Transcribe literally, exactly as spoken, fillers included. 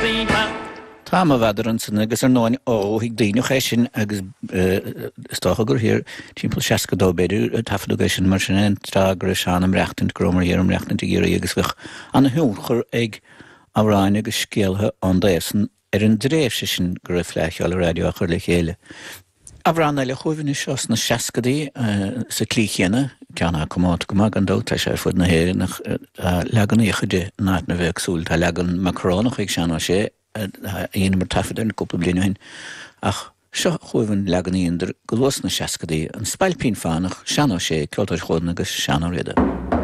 Tá mo mh'fheadar ansan agus ar ndóin ó thuig daoine é sin agus is dócha gur thiar timpeall seasca dó b'fhéidir a taifeadadh é sin mar sin an tráth go raibh Seán ag maireachtaint go rabhamar thiar ag maireachtaint i gCiarraí agus bheadh ana-thionchar ag amhráin agus scéaltha ón dtaobh san ar an dtréimhse sin go raibh Fleadh Cheoil an Raidió á chur le chéile. Amhrán eile chugaibh anois seo sna seascadaí sa tslí chéanna, ceann atá comónta go maith gan dabht, tá sé ar fud na hÉireann ach tá leaganacha de in áiteanna éagsúil. Tá leagan macarónach ag Seán Ó Sé a dheineamar taifead air cúpla bliain ó shin ach seo chugaibh an leagan a dheineadar go luath sna seascadaí, An Spailpín Fánach, Seán Ó Sé, Ceoltóirí Chualann agus Seán Ó Riada.